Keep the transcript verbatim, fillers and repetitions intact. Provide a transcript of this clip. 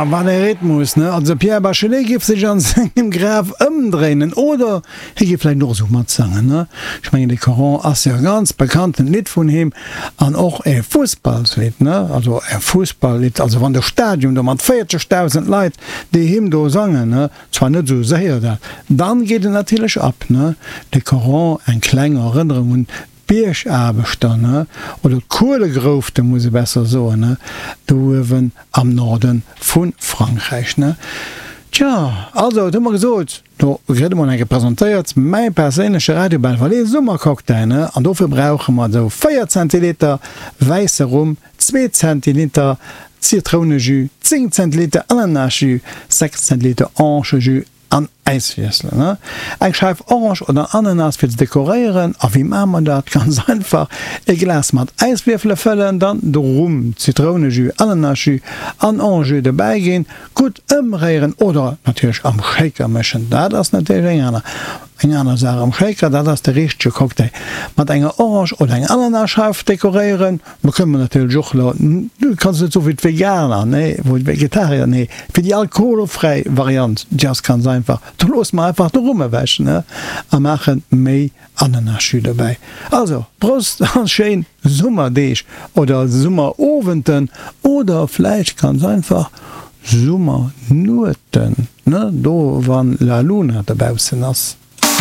Wat e Rhythmus, ne? Also de Pierre Bachelet géif sech an sengem Graf ëmdréinen oder hie géif vläicht och esou matsangen, ne? Ech mengen, de Coran ass jo e ganz bekanntent Lidd vun him an och e Fussballslidd, ne? Also e Fussballlidd, also wann de Stadion do mat véierzegdausend Leit déi Hymn do sangen, ne? Zwar net esou séier, dat, dann geet et natierlech ab, ne? De Coran, eng kleng Erënnerung un d'Biergaarbechter, ne, oder d'Kuelegroufte muss ee besser soen, ne, do uewen am Norde vu Frankräich, ne. Tja, also, et hu mer gesot, do kritt emol eng Kéier presentéiert, mäi perséinleche Radio Belval Summercocktail, ne, an dofir brauche mer esou véier Zentiliter wäisse Rum, zwee Zentiliter Zitrounejus, zéng Zentiliter Ananasjus, sechs Zentiliter Orangenjus, An Äiswiesselen, ne? Eng Scheif Orange oder Ananas fir ze dekoréieren. A wéi maache mer dat? Ganz einfach, e Glas mat Äiswierfele fëllen, dann de Rum, Zitrounejus, Ananasjus an Orangejus dobäi ginn, gutt ëmréieren oder natierlech am Shaker mëschen. Dat ass natierlech eng aner eng aner Saach am Shaker, dat ass de richtege Cocktail. Mat enger Orange oder enger Ananasscheif dekoréieren. Mer kënnen natierlech och elo, du kanns net soen fir d'Veganer, nee, wou d'Vegetarier, nee, fir déi alkoholfräi Variant, déi ass ganz einfach, do loosse mer einfach de Rum ewech, ne, a maache méi Ananasjus dobäi. Also, Prost a schéin Summerdeeg oder Summerowenten oder vläicht ganz einfach Summernueten, ne, do wann la Luna dobaussen ass.